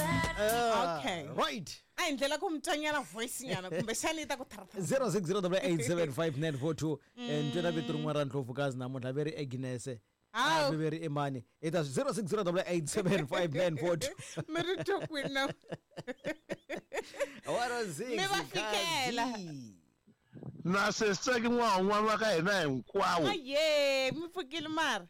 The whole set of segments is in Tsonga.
Okay. Right. A hi ndlela ku mi twanyana voice nyana kumbexani yi ta ku tharatha. 0608875942. Ntwela vito rin'wana ra ndlovukazi namuntlha ve ri Agnes. Hawu. Ve ri imani i ta 0608875942. Mi ri twa kwini na 106. Mi va fikela. Kazi. Na sesitsaki n'wana wa ka hina hinkwawo. Aye, mi pfukile mara.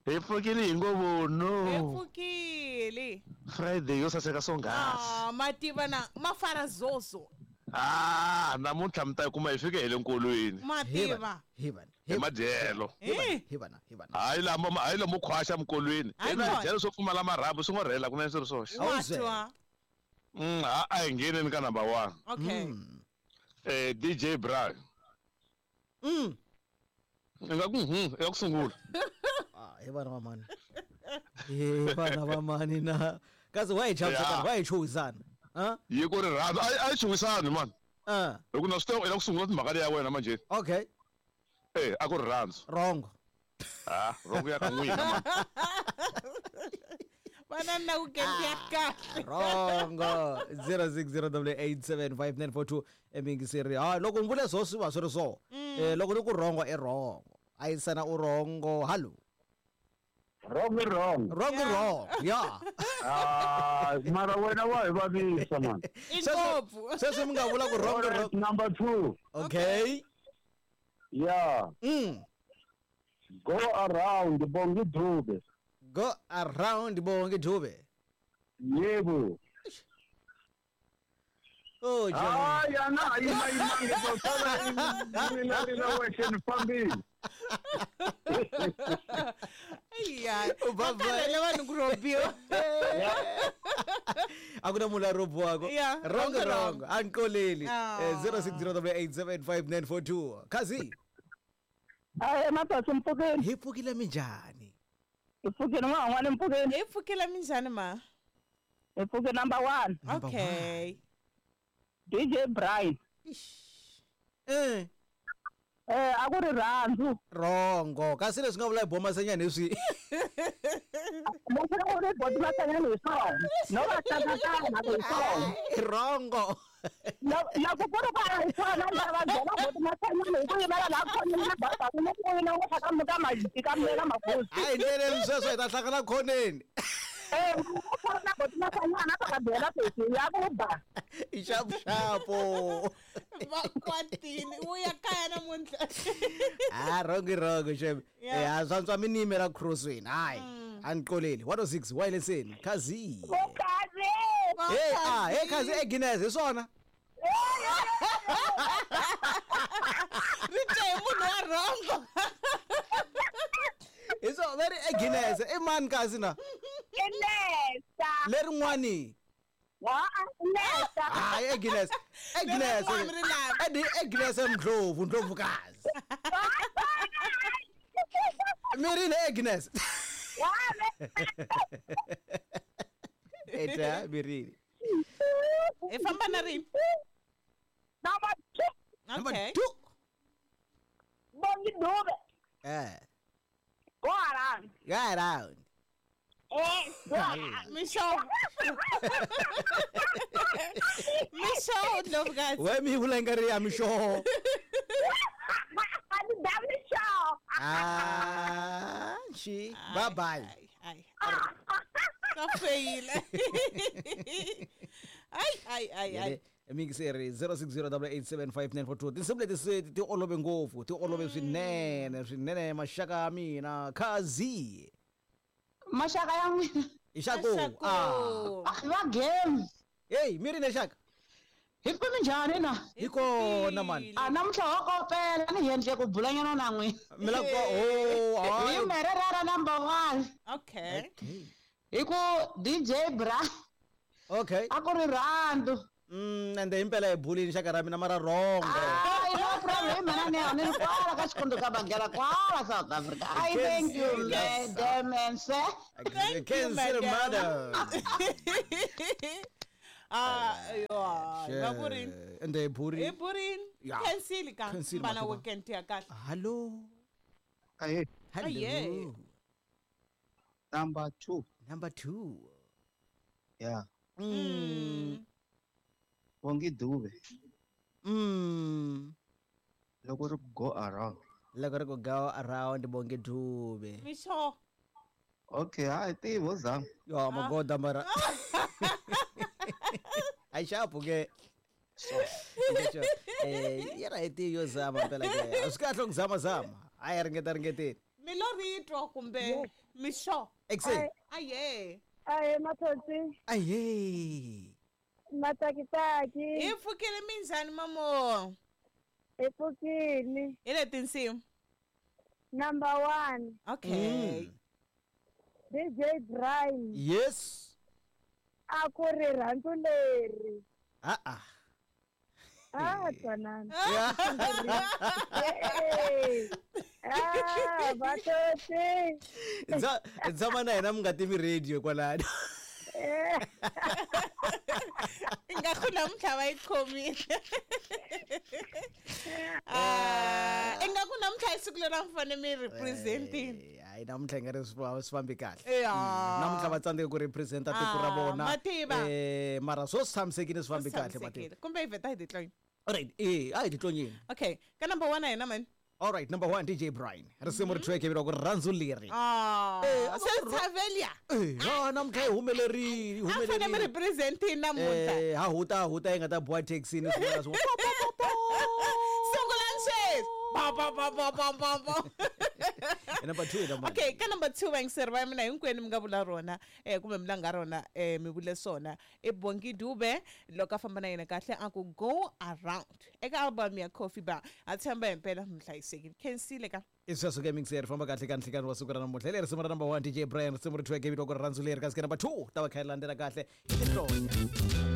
Hi pfukile hi ngo Hi vono. pfukile. Friday yo saseka swonghasi. Ah, ma tiva na mafara zozo. Ah, namuntlha mi ta yi kuma hi fike hi le nkolweni. Ma tiva. Hi vana. Hi madyelo. Eh. Hi vana, hi vana. Hayi lamo hayi lomo khwaxa mikolweni. Hayi Hina hi kona. dyela swo pfumala marhambu swi ngo rhela kunene swi ri swoxe. Wa twa. Ha a hi ngheneni ka number 1. Okay. DJ Brian. I nga ku i nga ku sungula. Ah, hi vana va mani. Hi vana va mani na. Kasi wa hi chavisana, Yeah. wa hi chuhisana. Ha? Yi ku rirhandzu a yi chuhisani man. Ah, Hi ku na swi tiva i la ku sungula timhaka leya wena manje. okay. A ku rirhandzu. Wrong. Ah, wrong ya ka n'wina man. Vana na weekend ya kahle. Wrong. 0608875942 emingiseri. Ha, loko mi vule swo swi va swi ri so. Loko ni ku wrong i wrong. Ayisana u wrong. Hello. Wrong i wrong. Wrong i wrong. Yeah. Ah, mara wena wa hi vavisa man. I ngopfu. Sweswi mi nga vula ku wrong i wrong. Number 2. Okay. Yeah. Go around Bongi Dube. Go around Bongi Dube. Yebo. Oh, Johnny. Ah, yana yima yima ngizosala mina mina wexe ni fambile. Iya. Va karhele vanhu ku robiwa. A ku na munhu la robiwaka. Yeah, Wrong wrong, wrong. wrong. A ni koleli. Ah. 0608875942. Kazi. Hayi mabasa mpfukeni. Hi pfukile minjhani? Hi pfukile n'wana mpfukeni. Hi pfukile minjhani ma? Hi pfuke number 1. Okay. DJ Brian. A ku ri rhandzu. Wrongo. Kasi leswi nga vula hi bomasenyana hi swi. Leswi nga vula hi bomasenyana hi swona. No va hlangana ku hi swona. Wrongo. Loko ku ri ku a hi swona ni ta va byela bomasenyana hi ku yimela laha khoneni na baba ku ni ku yina ku ka ka majiti ka mina magosi. A hi ndleleni sweswo hi ta hlangana khoneni. Ku fana na bomasenyana ta va byela sesi ya ku ba. I xapuxapu. Va kwatini u ya kaya namuntlha. Ah, wrong wrong shem. Yeah. Swantswa mi ni yimela crossweni. Hayi. A ni qoleli. 106 wirelesseni. Kazi. Kazi. Hey, ah, hey Kazi Agnes hi swona. Ri twe hi munhu wa rhongo. Hi swona ve ri Agnes i mani kasi na? Nesa. Lerin'wani. Nesa. Hayi Agnes. Agnes. Lerin'wani ri laha. Edi Agnes Ndlovu, Ndlovukazi. Mi rini Agnes? Eta mi rini. Hi famba na rini? Number 2. Number Okay. 2. Bongi Dube. Go around. Go around. Go around. Mixo. Mixo Ndlovukazi. We mi vula nga ri ya mixo. Mixo. Ah, xi. Bye bye. Ai. Swa feyila. Ai ai ai ai. Mixeri 0608875942. Tinsimu leti se ti olove ngopfu, ti olove swinene, swinene maxaka ya mina. Kazi. Maxaka ya n'wina. I xaku. Ah. Va game. Hey, mi ri ne xaka? Hi ku minjhani na? Hi kona mani. A namuntlha ho kopela ni endle ku bulanyana na n'wina. Mi la ku oh, Hi hayi. mererera number 1. Okay. Hi ku DJ Bra. Okay. A ku ri rhandzu. Ende himpela hi bulini xaka ra mina mara wrong. Hayi no problem mina ni ni ri kwala ka xikondo ka Bangela kwala South Africa. I thank you madam and sir. Thank you, Cancel madam. madam. Ah, yo. Va ku rini? Ende hi burini. Hi burini. Yeah. Cancel ka. Cancel, Vana mativa. weekend ya kahle. Hello. Aye. Hello. Number 2. Number 2. Yeah. Bongi Dube. Loko ri ku go around. Loko ri ku go around Bongi Dube. Misho. Okay, hayi tivi ho zama. Yo magoda mara. Ayi xapu ke. Yena hi tivi yo zama mpela ke. A swi kahle ku zama zama. A yi ringeta ringeteni. Mi lo ri twa kumbe misho. Exe. Aye. Ahe mathotsi. Aye. Matsakitsaki. Hi pfukile minjhani mamo? Hi pfukile. Hi le tinsimu. Number 1. Okay. DJ Brian. Yes. A ku ri rhandzu leri. Ah ah. Ah, twanana. Ah, vathotsi. Tshama na hina mi nga tivi radio kwalano. Ingaku namuntlha va yi khomile. Ingaku namuntlha i siku leri a mi fanele mi representini. Hayi namuntlha hi nga ri swi fambi kahle. Ya. Namuntlha va tsandzeke ku representa tiko ra vona. Mativa. Mara swo swi tshamisekile swi fambi kahle mativa. Kumbe hi vheta hi titlonya. Alright, a hi titlonyeni. Okay, ka number 1 a hina mani? All right, number 1 DJ Brian. Risimu ri thweke vito ku rhandzu leri. Se Tsavelia. Namuntlha hi humelerile, A fanele mi representini namuntlha. Ha huta yi nga ta boha taxini swin'wana na swin'wana. Sungulani sweswi. Ba ba ba ba ba ba ba. Number 2 number. Okay, ka number 2 vayingiseri va mina hinkwenu mi nga vula rona kumbe mi langa rona mi vule swona. I Bongi Dube loko a famba na yena kahle a ku go around eka album ya Coffee Bar. A tshemba himpela mi hlayisekile. Khensile ka. I sweswo ke mixer famba kahle ka nhlikani wa siku ra namuntlha. Hi leri risimu ra number 1 DJ Brian risimu ri thweke vito ku rhandzu leri kasi ke number 2 ta va kha yi landzela kahle i tihlonya.